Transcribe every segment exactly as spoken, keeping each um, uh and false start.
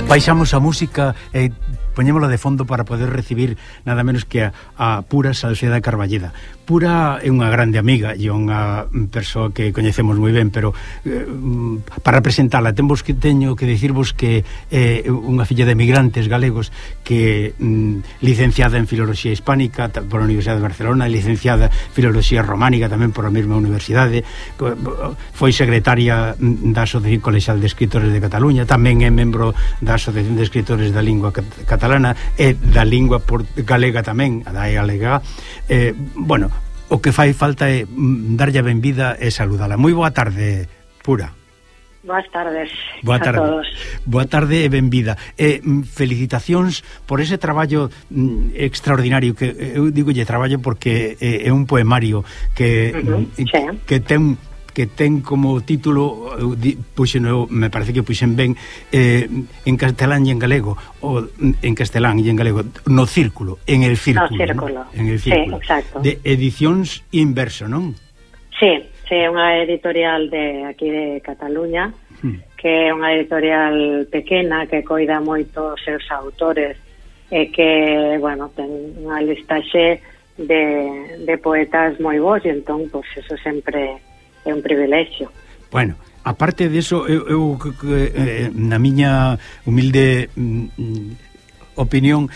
Baixamos a música e poñémola de fondo para poder recibir nada menos que a, a Pura Salceda Carballeda. Pura é unha grande amiga e unha persoa que coñecemos moi ben, pero eh, para presentala temos que teño que dicirvos que é eh, unha filla de emigrantes galegos que mm, licenciada en Filoloxía Hispánica por a Universidade de Barcelona, licenciada en Filoloxía Románica tamén por a mesma universidade, foi secretaria da Asociación Colexial de Escritores de Cataluña, tamén é membro da Asociación de Escritores da Lingua Catalana e da Lingua Galega tamén, a da galega. Eh, bueno, o que fai falta é darlle a benvida e saludala. Moi boa tarde, Pura. Boas tardes boa tarde. A todos. Boa tarde e benvida. E felicitacións por ese traballo mm, extraordinario que eu digolle traballo porque é, é un poemario que uh-huh, mm, sí. que ten que ten como título, puxen, me parece que puxen ben, eh, en castelán e en galego, o en castelán e en galego, no círculo, en el círculo. No círculo, ¿no? En el círculo. Sí, exacto. De Edicións Inverso, non? Sí, sí, é unha editorial de aquí de Cataluña, hmm. que é unha editorial pequena que coida moito os seus autores e que, bueno, ten unha listaxe de, de poetas moi bons e entón, pois, pues, eso sempre é un privilexio. Bueno, aparte de eso, eu, eu eh, na miña humilde mm, opinión,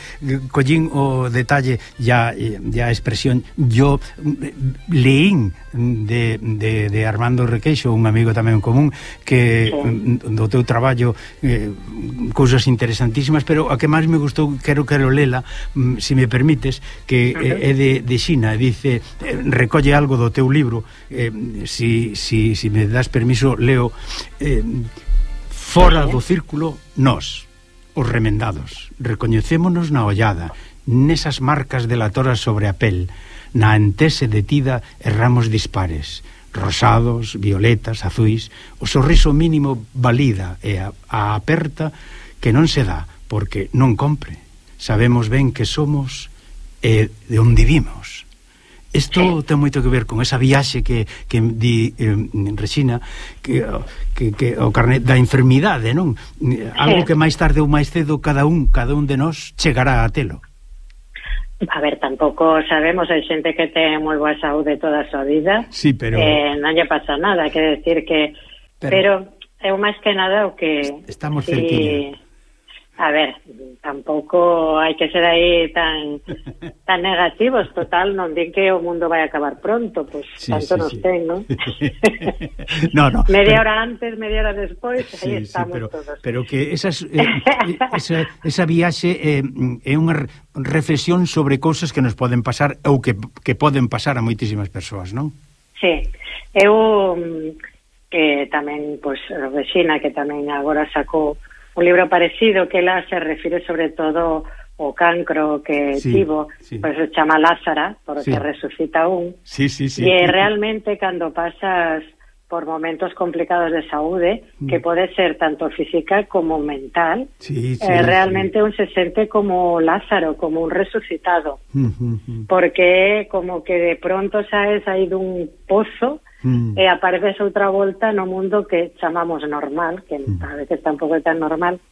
collín o detalle ya, ya a expresión, yo leín de, de, de Armando Requeixo, un amigo tamén común, que sí. do teu traballo eh, cousas interesantísimas, pero a que máis me gustou, quero quero lela, se me permites, que uh-huh. é de, de Xina, dice, recolle algo do teu libro, eh, si, si, si me das permiso, leo, eh, fora do círculo, nós, os remendados, recoñecémonos na ollada, nesas marcas delatoras sobre a pel, na antese detida erramos dispares, rosados, violetas, azuis, o sorriso mínimo valida e a, a aperta que non se dá, porque non compre. Sabemos ben que somos e de onde vimos. Isto ten moito que ver con esa viaxe que, que di eh, Resina, que, que, que o carnet da enfermidade, non? Algo que máis tarde ou máis cedo cada un, cada un de nós chegará a telo. A ver, tampouco sabemos, hai xente que ten moi boa saúde toda a súa vida, sí, pero eh, non lle pasa nada, quer decir que pero, pero é máis que nada o que estamos si, cerquinha. A ver, tampouco hai que ser aí tan tan negativos, total, non din que o mundo vai acabar pronto, pois pues, sí, tanto sí, nos sí. ten, non? no, no. Media pero, hora antes, media hora despois, sí, aí estamos sí, pero, todos. Pero que esas, eh, esa, esa viaxe eh, é unha reflexión sobre cousas que nos poden pasar ou que, que poden pasar a moitísimas persoas, non? Sí, eu que tamén, pois, pues, Resina, que tamén agora sacou un libro parecido que ela se refire sobre todo ao cancro que sí, tivo, sí. Pois se chama Lázara, porque sí. resucita un. Sí, sí, sí. E realmente cando pasas por momentos complicados de saúde, mm. que pode ser tanto física como mental, sí, sí, eh, realmente sí. un se sente como Lázaro, como un resucitado. Mm, mm, mm. Porque como que de pronto saes aí dun pozo Mm. e apareces outra volta no mundo que chamamos normal, que mm. a veces tampouco é tan normal,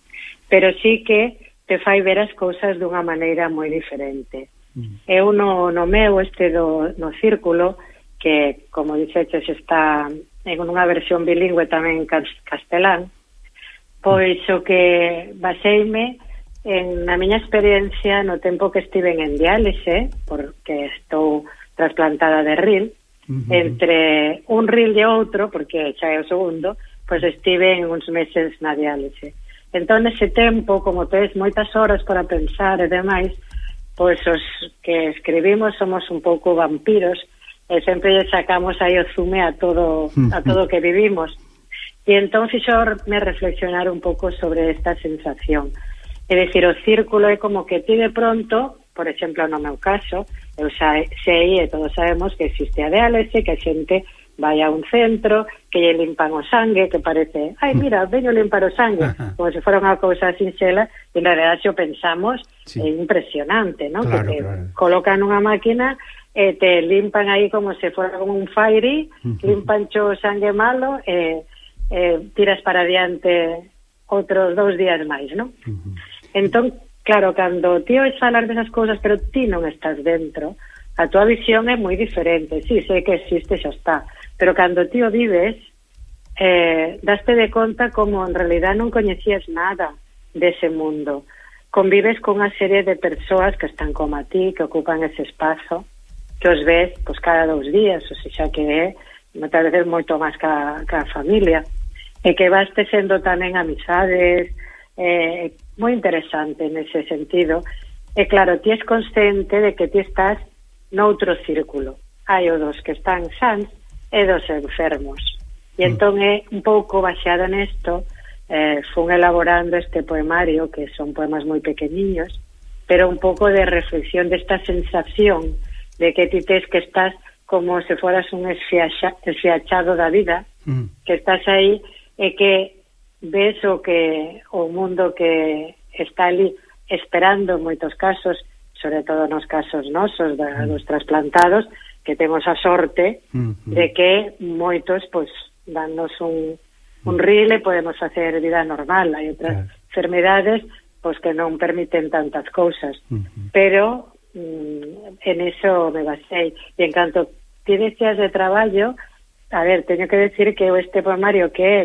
pero sí que te fai ver as cousas dunha maneira moi diferente. Mm. Eu no, no meu este do, no círculo, que como dixeches está en unha versión bilingüe tamén en castelán, pois o que baseime en na miña experiencia no tempo que estiven en diálise, porque estou trasplantada de ril, Uh-huh. entre un ril e outro, porque xa é o segundo, pois estive en uns meses na diálise. Entón, ese tempo, como tes moitas horas para pensar e demais, pois os que escribimos somos un pouco vampiros e sempre sacamos aí o zume a todo a todo o que vivimos. E entón fixo me reflexionar un pouco sobre esta sensación. É dicir, o círculo é como que ti de pronto, por exemplo, no meu caso, eu xa sei e todos sabemos que existe a diálise, que a xente vai a un centro, que lle limpan o sangue, que parece, ai, mira, veño limpar o sangue, como se fora unha cousa sinxela, e en realidad xo pensamos, sí. É impresionante, non? Claro, que te claro. colocan unha máquina e te limpan aí como se fora como un fairy, limpan xo o sangue malo e, e tiras para adiante outros dous días máis, non? Uh-huh. Entón, claro, cando ti ois falar desas cousas, pero ti non estás dentro, a tua visión é moi diferente. Sí, sei que existe, xa está, pero cando ti o vives, eh, daste de conta como en realidad non coñecías nada dese mundo. Convives con unha serie de persoas que están como a ti, que ocupan ese espazo, que os ves pois, cada dous días, ou seja, que é moitas veces moito máis ca, ca familia, e que vas tecendo tamén amizades, eh, moi interesante nese sentido. E claro, ti és consciente de que ti estás noutro círculo. Hai o dos que están sans e dos enfermos. E entón é un pouco baseada nesto, eh, fun elaborando este poemario, que son poemas moi pequeniños, pero un pouco de reflexión desta sensación de que ti tes que estás como se foras un esfiaxa, esfiachado da vida, mm. que estás aí e que ves o que o mundo que está ali esperando en moitos casos, sobre todo nos casos nosos da, dos trasplantados, que temos a sorte mm-hmm. de que moitos pois danos un, un ril e podemos facer vida normal. Hai outras yeah. enfermedades pois que non permiten tantas cousas, mm-hmm. pero mm, en eso me basei. E en canto tienes días de traballo, a ver, teño que decir que este poemario que é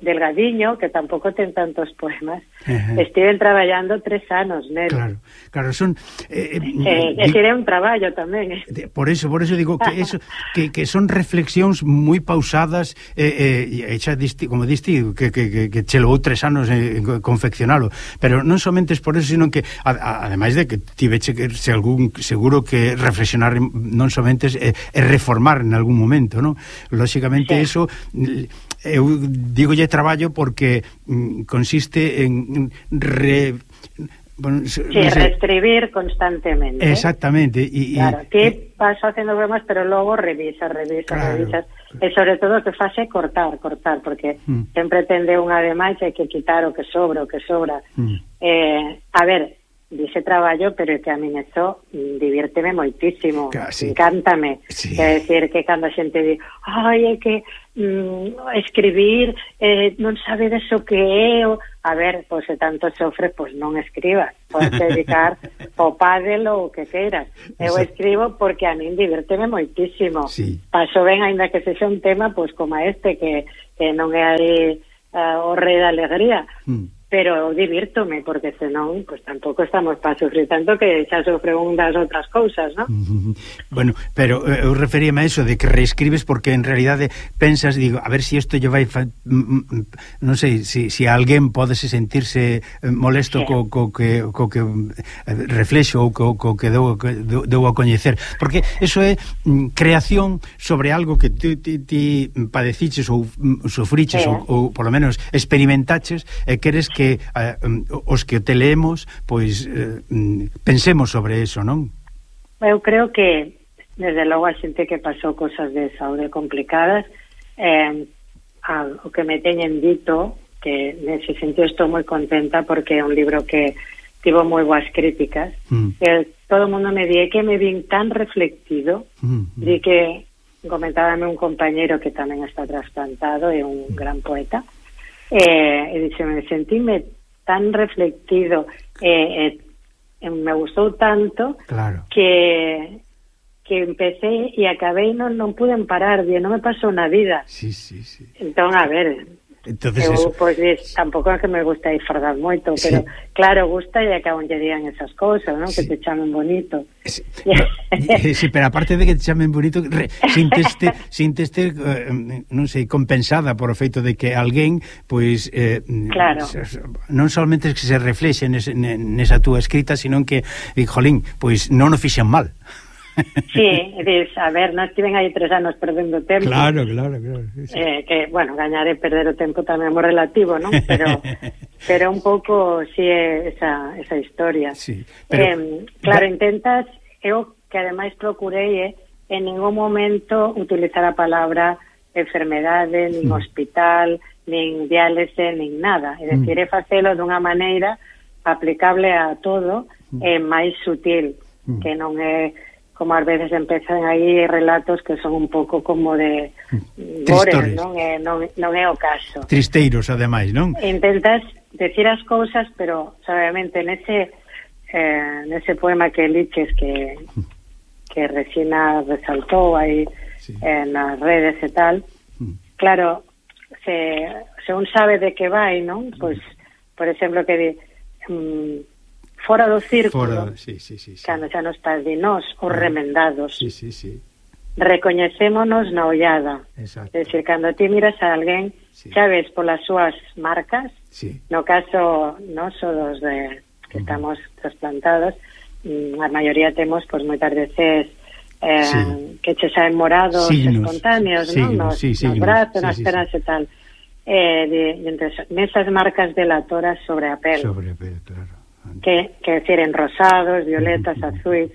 delgadiño, que tampouco ten tantos poemas, uh-huh. estiven traballando tres anos nel. Claro, claro, son eh, eh, eh, é un traballo tamén. Eh. Por eso, por eso digo que eso que, que son reflexións moi pausadas, eh, eh, xa disti, como diste que, que, que, que che levou tres anos eh, confeccionalo, pero non somente es por eso, sino que a, a, ademais de que tiveche que se algún seguro que reflexionar non somente é, é reformar en algún momento, non? Lóxicamente sí. Eso eu digolle traballo porque mm, consiste en re, bueno, sí, no sé, reescribir constantemente. Exactamente. Y, claro, y, ti y, vas facendo bromas, pero logo revisas, revisas, claro, revisas. E sobre todo que fase cortar, cortar, porque mm. sempre tende unha demais e hai que quitar o que sobra, o que sobra. Mm. Eh, a ver, dice traballo, pero é que a mí eso diviérteme moitísimo, sí. Encántame, sí. Quer decir que cando a xente di ai, é que mm, escribir eh, non sabe deso que é o... a ver, pois se tanto sofres, pois non escribas, podes dedicar o pádel ou o que queiras. Eu escribo porque a mí diviérteme moitísimo, sí. Paso ben, ainda que sexa un tema pois como este, que, que non é aí uh, o rei da alegría, mm. pero divírtome, porque senón pues tampouco estamos para sufrir tanto que xa sofre unhas outras cousas, ¿no? Bueno, pero eu referíame a eso de que reescribes porque en realidade pensas, digo, a ver si isto lle vai fa... non sei, si, si alguén podese sentirse molesto sí. co, co que, co que reflexo ou co, co que deu, deu a coñecer, porque eso é creación sobre algo que ti, ti, ti padeciches ou sufriches sí. ou, ou polo menos experimentaches e queres que eh, os que te leemos pois eh, pensemos sobre eso, non? Eu creo que desde logo a xente que pasou cosas de saúde complicadas, eh, a, o que me teñen dito, que nese sentido estou moi contenta porque é un libro que tivo moi boas críticas, mm. que todo o mundo me di que me vin tan reflectido, mm. di que comentábame un compañeiro que tamén está trasplantado, é un mm. gran poeta, Eh, e dixe, me sentíme tan reflectido e eh, eh, me gustou tanto claro. que que empecé e acabei non, non pude parar, non me pasou na vida. Sí, sí, sí. Entón, a ver, entonces eu, eso... pois, pues, tampouco é que me gusta disfrutar moito, sí. Pero claro, gusta e acabo lle digan esas cousas, non? Sí. Que te chamen bonito. Sí. Sí, pero aparte de que te chamen bonito, re, sinteste, sinteste eh, non sei, compensada por o feito de que alguén, pois, eh, claro. non solamente que se reflexe nesa, nesa túa escrita, sino que, jolín, pois non o fixen mal. Sí, diz, a ver, non estiven aí tres anos perdendo tempo. Claro, claro, claro. Sí. Eh, que, bueno, gañar e perder o tempo tamén é moi relativo, non? Pero pero un pouco si sí, é esa, esa historia. Sí, pero... Eh, claro, da... intentas, eu que ademais procurei eh, en ningún momento utilizar a palabra enfermedade, nin mm. hospital, nin diálise, nin nada. É dicir, mm. é facelo dunha maneira aplicable a todo e eh, máis sutil, mm. que non é como ás veces empezan aí relatos que son un pouco como de gore, non é, non, non é o caso. Tristeiros, ademais, non? Intentas decir as cousas, pero suavemente nese eh, nese poema que liches que que Resina resaltou aí sí. eh, nas redes e tal, mm. claro, se, se un sabe de que vai, non? Pois, por exemplo, que di um, fora do círculo, fora, sí, sí, sí, sí. cando xa nos estás di nós, os remendados, sí, sí, sí. recoñecémonos na ollada. Exacto. É dicir, cando ti miras a alguén, sí. xa ves polas súas marcas, sí. no caso noso dos de que uh -huh. estamos trasplantados, a maioría temos, pois, moitas veces eh, sí. que che saen morados signos, espontáneos, signos, non? Nos, sí, nos brazos, sí, nas sí, pernas sí. e tal. Eh, de, de entre nesas marcas delatoras sobre a pel. Sobre a pel, claro. Que, que decir, en rosados, violetas, uh -huh. azuis.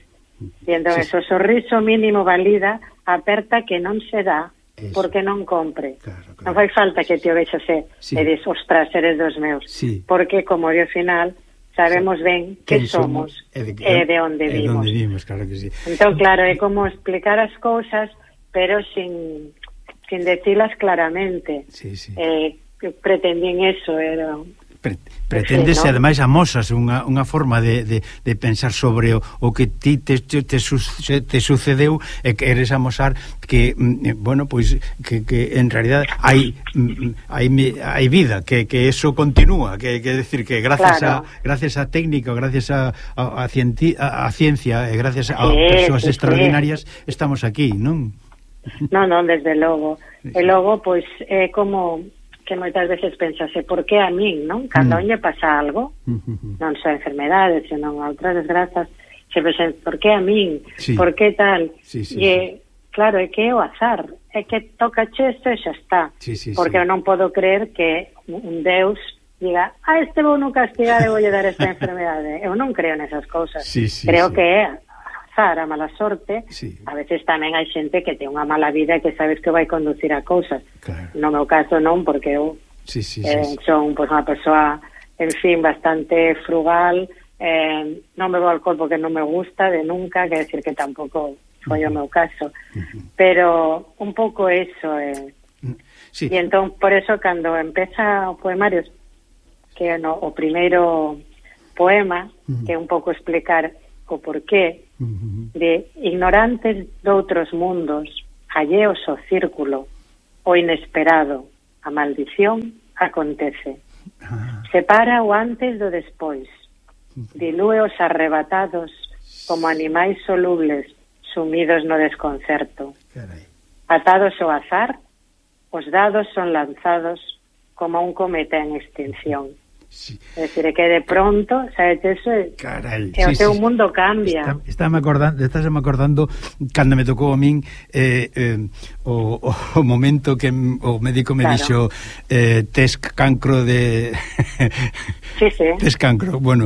E entón, sí, eso, o sorriso mínimo valida a aperta que non se dá eso. Porque non compre. Claro, claro. Non fai falta que te o vexase sí. e dis, ostras, eres dos meus. Sí. Porque, como ao final, sabemos sí. ben que somos e de, e de onde e vimos. Onde vimos, claro que sí. Entón, claro, é como explicar as cousas, pero sin, sin decilas claramente. Sí, sí. Eh, pretendín eso, era... Pre pretendes, sí, ¿no? Ademais amosas unha, unha forma de, de, de pensar sobre o, o que ti te, te, te, su, te sucedeu e que eres amosar que, bueno, pois que, que en realidad hai hai, hai vida, que, que eso continúa, que, que decir que gracias claro. a gracias a técnica, gracias a, a, a, cienti, a, a ciencia e gracias a sí, persoas sí, extraordinarias sí. estamos aquí, non? Non, non, desde logo. Sí. E logo, pois, é como que moitas veces pensase, por que a min, non? Cando mm. lle pasa algo, mm -hmm. non só enfermedades, senón a outras desgrazas, se pensan, por que a min? Sí. Por que tal? Sí, sí, e, sí. claro, é que é o azar, é que toca chesto e xa está. Sí, sí, porque sí. eu non podo creer que un Deus diga, ah, este vou non castigar e voulle dar esta enfermedade. Eu non creo nesas cousas. Sí, sí, creo sí. que é azar, a mala sorte. Sí. A veces tamén hai xente que ten unha mala vida e que sabes que vai conducir a cousas. Claro. No meu caso non, porque eu sí, sí, eh, sí, sí. son pues, unha persoa, en fin, bastante frugal, eh, non bebo alcohol porque non me gusta de nunca, que decir que tampouco foi uh -huh. o meu caso. Uh -huh. Pero un pouco eso. Eh. Sí. E entón, por eso, cando empeza o poemario, que no, o primeiro poema, uh -huh. que é un pouco explicar o porqué uh -huh. de ignorantes doutros mundos, alleos ao círculo, o inesperado, a maldición acontece. Ah. Separa o antes do despois, dilúe os arrebatados como animais solubles sumidos no desconcerto. Carai. Atados ao azar, os dados son lanzados como un cometa en extinción. Sí. É dicir, que de pronto, sabes, eso é, Carai, e o sí, teu sí. mundo cambia. Está, estáme acordando, estás me acordando cando me tocou a min eh, eh, o, o momento que o médico me claro. dixo eh, tes cancro de sí, sí. tes cancro, bueno,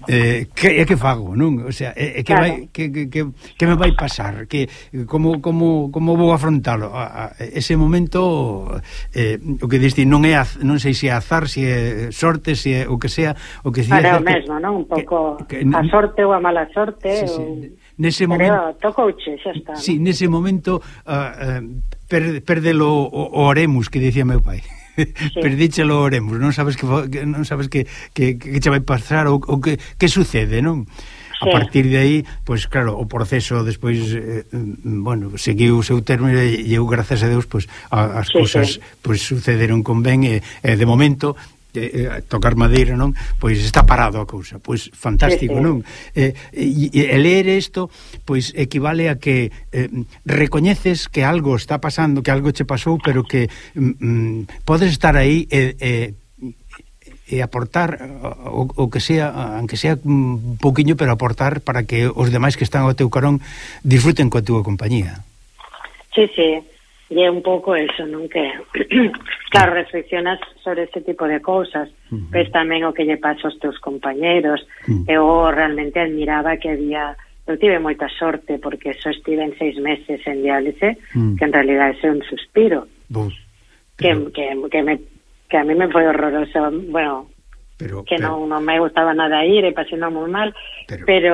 eh, que é que fago, non? O sea, é, é que claro. vai que, que, que, que me vai pasar, que como como como vou afrontalo? A, a, ese momento eh, o que diste non é non sei se é azar, se é sorte, se é o que sea, o que Para o mesmo, non? Un pouco que, que, a sorte ou a mala sorte, sí, sí. ou nese momento tocouche, xa está. Sí, ¿no? Nese momento uh, uh, per, perdelo o, o oremus que dicía meu pai. Sí. Perdíchelo o oremus, non sabes que, que non sabes que, que, que che vai pasar ou, ou que, que sucede, non? Sí. A partir de aí, pois pues, claro, o proceso despois eh, bueno, seguiu o seu termo e eu, gracias a Deus, pois pues, as sí, cousas sí. Pois pues, sucederon con ben e, e de momento eh, tocar madeira, non? Pois está parado a cousa, pois fantástico, sí, sí. non? Eh, e, e ler isto, pois equivale a que eh, recoñeces que algo está pasando, que algo che pasou, pero que mm, podes estar aí e, e, e aportar o, o que sea, aunque sea un pouquiño, pero aportar para que os demais que están ao teu carón disfruten coa túa compañía. Sí, sí. E é un pouco eso, non? Que, claro, reflexionas sobre ese tipo de cousas, uh -huh. ves tamén o que lle pasa aos teus compañeros, uh -huh. eu realmente admiraba que había, eu tive moita sorte, porque só estive en seis meses en diálise, uh -huh. que en realidad é un suspiro, Bus, pero... que, que, que, me, que a mí me foi horroroso, bueno, pero, que pero... non, non me gustaba nada ir, e pasei non moi mal, pero... pero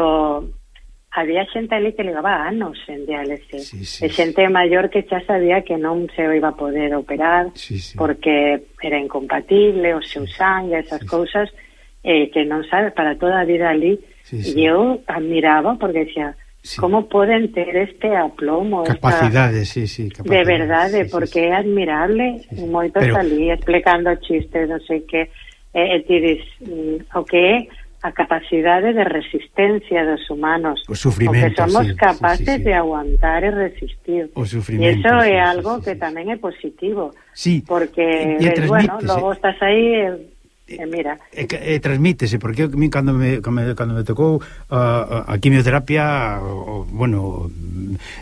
había xente ali que levaba anos en diálise, sí, sí, e xente sí. maior que xa sabía que non se iba a poder operar sí, sí. porque era incompatible, o seu sangue, esas sí, cousas, eh, que non sabe para toda a vida ali, sí, sí. e eu admiraba porque decía, sí. como poden ter este aplomo, capacidades, esta... sí, sí, capacidades, de verdade, sí, porque sí, é sí. admirable, sí, sí. moitos Pero... ali explicando chistes, non sei que, e eh, ti dis, mm, o que é a capacidade de resistencia dos humanos, o sufrimento, porque somos sí, capaces sí, sí, sí. de aguantar e resistir, o sufrimento, e iso sí, é sí, algo sí, que sí. tamén é positivo, sí. porque, ves, bueno, logo estás aí... Eh, E mira, e, e transmítese, porque a mí cando me, cando me tocou a, a quimioterapia, o, bueno,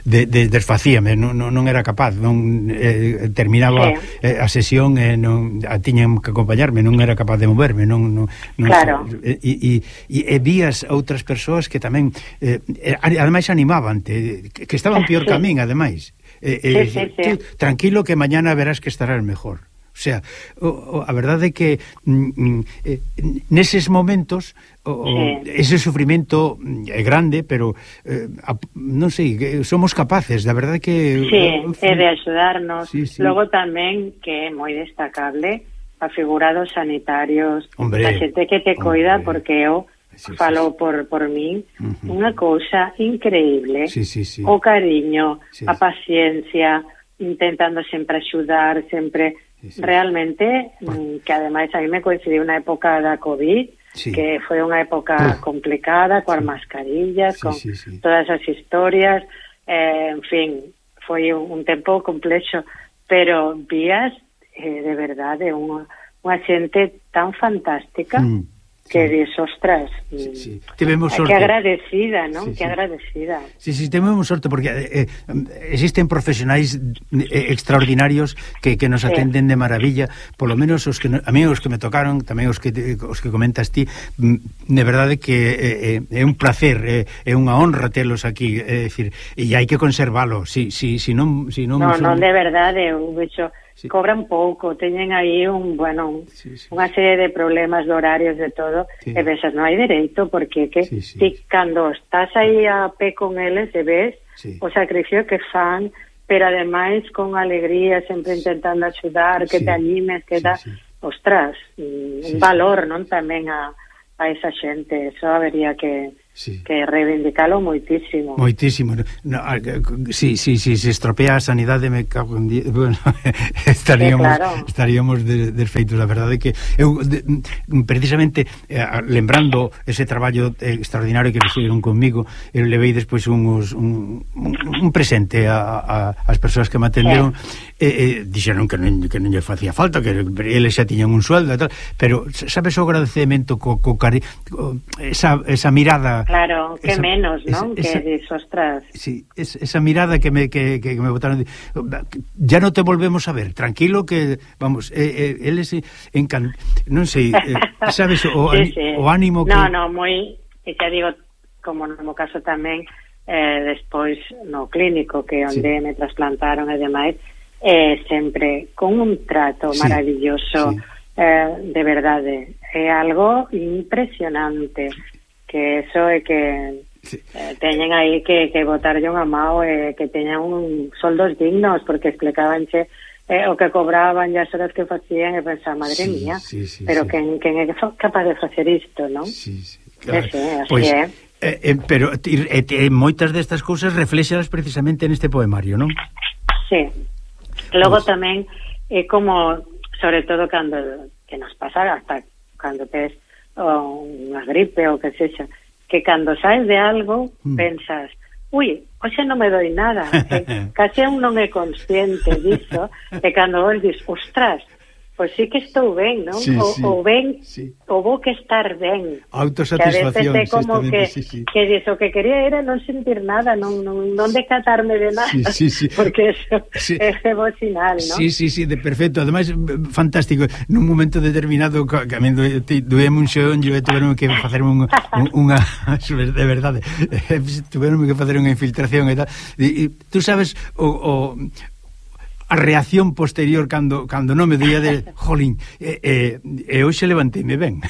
de, de, desfacíame, non, non era capaz, non eh, terminaba sí. eh, a sesión e non a tiñan que acompañarme, non era capaz de moverme, non, non, non claro. E, e, e, e vías outras persoas que tamén eh, ademais animaban-te, que estaban pior sí. que a min, ademais. Eh, eh, sí, sí, sí. Tú, tranquilo que mañana verás que estarás mejor. O sea, o, o, a verdade é que mm, eh, neses momentos o, sí. ese sufrimento é grande, pero eh, a, non sei, somos capaces, da verdade que... Sí, o, é de axudarnos. Sí, sí. Logo tamén, que é moi destacable, a figura dos sanitarios, hombre, a xente que te coida, porque eu sí, falo sí, sí. por, por min, uh-huh. unha cousa increíble, sí, sí, sí. o cariño, sí. a paciencia, intentando sempre axudar, sempre... Sí, sí. Realmente, Por... que ademais a mí me coincidiu unha época da COVID, sí. que foi unha época ah. complicada, coas sí. mascarillas, sí, con sí, sí. todas as historias, eh, en fin, foi un, un tempo complexo, pero vías eh, de verdade unha, unha xente tan fantástica mm. que sí. dis, ostras, sí, sí. Tivemos sorte. Que agradecida, non? Sí, que sí. agradecida. Sí, sí, tivemos sorte porque eh, existen profesionais eh, extraordinarios que, que nos atenden sí. de maravilla, polo menos os que a mí os que me tocaron, tamén os que os que comentas ti, de verdade que eh, é un placer, é eh, unha honra telos aquí, é dicir, e hai que conservalo, si si si non si non No, non de verdade, eu vexo sí. cobran pouco, teñen aí un, bueno, sí, sí, unha serie de problemas de horarios de todo, sí. e ves, non hai dereito, porque que sí, sí, ti, sí. cando estás aí a pé con eles e ves sí. o sacrificio que fan, pero ademais con alegría, sempre intentando axudar, que sí. te animes, que sí, da, sí. ostras, un sí, valor, non, tamén a, a esa xente, eso habería que sí. que reivindicalo moitísimo. Moitísimo. No, si si si se estropea a sanidade me cago en die... bueno, estaríamos sí, claro. estaríamos de, desfeitos, a verdade que eu de, precisamente eh, lembrando ese traballo extraordinario que fixeron comigo, eu levei despois uns, un, un, un presente a, a as persoas que me atenderon sí. e, e dixeron que non, que non lle facía falta, que eles xa tiñan un sueldo e tal, pero sabes o agradecemento co, co cari... esa, esa mirada. Claro, que esa, menos, ¿no? Esa, que dis, ostras. Sí, es, esa mirada que me que, que me botaron, ya no te volvemos a ver, tranquilo que, vamos, eh, eh, eles encan... non sei, eh, sabes, o, sí, sí. o ánimo que... No, no, moi, e xa digo, como no meu caso tamén, eh, despois no clínico, que onde sí. me trasplantaron e demais, eh, sempre con un trato sí. maravilloso, sí. Eh, de verdade, é algo impresionante, que eso é que sí. eh, teñen aí que, que botarlle unha mao e eh, que teñan un soldos dignos, porque explicabanche eh, o que cobraban e as horas que facían e pensaba, madre sí, mía, sí, sí, pero sí. quen, quen é capaz de facer isto, non? Sí, sí, claro. Sí, sí, así pues, é. Eh, eh, pero eh, eh, moitas destas cousas reflexadas precisamente neste poemario, non? Sí. Logo pues... tamén é eh, como, sobre todo cando que nos pasa hasta cando tes o unha gripe ou que sexa, que cando saes de algo mm. pensas, ui, hoxe non me doi nada, e case un non é consciente disso, e cando vos dis, ostras, pois sí que estou ben, non? Sí, o, sí, o ben, sí. o vou que estar ben. Autosatisfacción. Que a veces é como que, sí, sí. que diso, que quería era non sentir nada, non, non, non decatarme de nada, sí, sí, sí. porque eso sí. é bo sinal, non? Sí, sí, sí, de perfecto, ademais fantástico, nun momento determinado que a mí doeme un xeonllo e tuveron que facer un, un, unha, de verdade, tuveron que facer unha infiltración e tal, e, e tú sabes o... o a reacción posterior cando cando non me doía de jolín, e eh, eh, hoxe levanteime ben.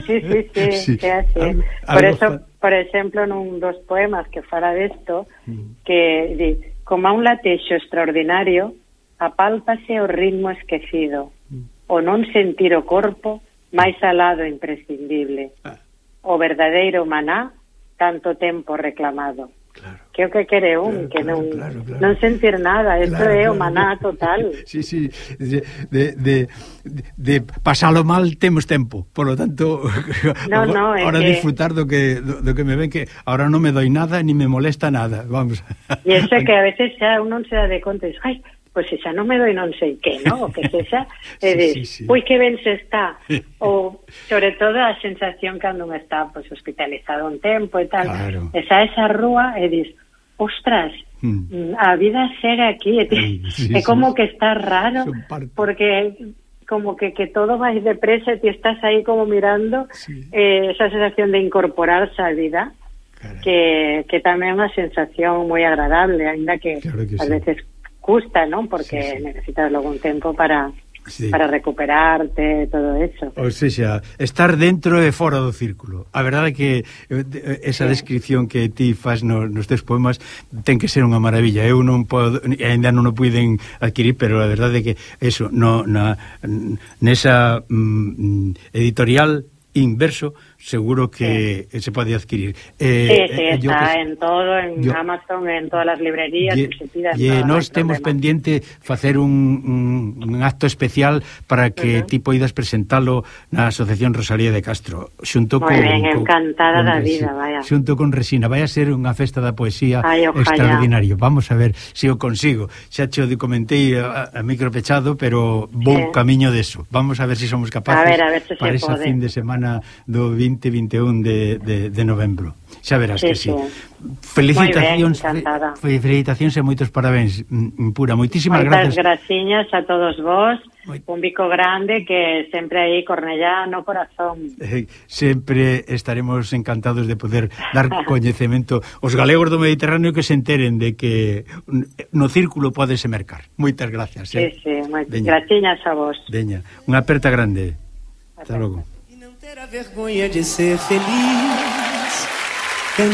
Sí, sí, sí, sí. sí así. Al, por eso, fa... por exemplo, nun dos poemas que fala desto, mm. que di, como a un latexo extraordinario, apálpase o ritmo esquecido, mm. o non sentir o corpo máis alado e imprescindible. Ah. O verdadeiro maná, tanto tempo reclamado. Claro. Que o que quere un, claro, que non claro, claro. non sentir nada, isto claro, é o maná claro. total. Sí, sí, de, de, de, de pasalo mal temos tempo, por lo tanto no, no, ahora que... disfrutar do que do, do que me ven, que ahora non me doi nada ni me molesta nada, vamos. E iso que a veces xa un non se dá de conta, ai, pois pues xa non me doi non sei que, ¿no? O que sexa, e dis, sí, sí, sí. pois que ben se está. Ou, sobre todo, a sensación cando me está pues, hospitalizado un tempo e tal. Claro. Esa esa rúa e dis, ostras, mm. a vida segue aquí. E, sí, sí, é como sí. que está raro, porque como que, que todo vai depresa e ti estás aí como mirando sí. eh, esa sensación de incorporarse á vida, que, que tamén é unha sensación moi agradable, ainda que, claro que a sí. veces custa, ¿no? Porque sí, sí. necesitas logo un tempo para sí. para recuperarte, todo eso. O sea, estar dentro e fora do círculo. A verdade é que esa sí. descripción que ti fas nos, nos teus poemas ten que ser unha maravilla. Eu non podo, ainda non o puiden adquirir, pero a verdade é que eso, no, na, nesa mm, editorial Inverso seguro que sí. se pode adquirir. Eh, sí, sí, eh, está que, en todo, en yo, Amazon, en todas as librerías. E, se pida, e nós temos problema. pendiente facer un, un, un acto especial para que uh -huh. ti poidas presentalo na Asociación Rosalía de Castro. Xunto Muy con, ben, con, encantada con da vida, vaya. Xunto con Resina. Vai a ser unha festa da poesía Ay, extraordinario. Vamos a ver se si o consigo. Xa cho comentei a, a micro pechado, pero vou sí. camiño deso. Vamos a ver se si somos capaces a ver, a ver se para se esa pode. fin de semana do vinte e vinte e un de, de, de novembro. Xa verás sí, que sí. sí. Felicitacións, fe, felicitacións e moitos parabéns, Pura. Moitísimas Moitas grazas. graciñas a todos vos. Moit... Un bico grande que sempre aí Cornellá no corazón. Eh, sempre estaremos encantados de poder dar coñecemento aos galegos do Mediterráneo que se enteren de que no círculo podese mercar. Moitas gracias. Eh? Sí, sí, moitas graciñas a vos. Veña, unha aperta grande. Hasta logo. Ter a vergonha de ser feliz.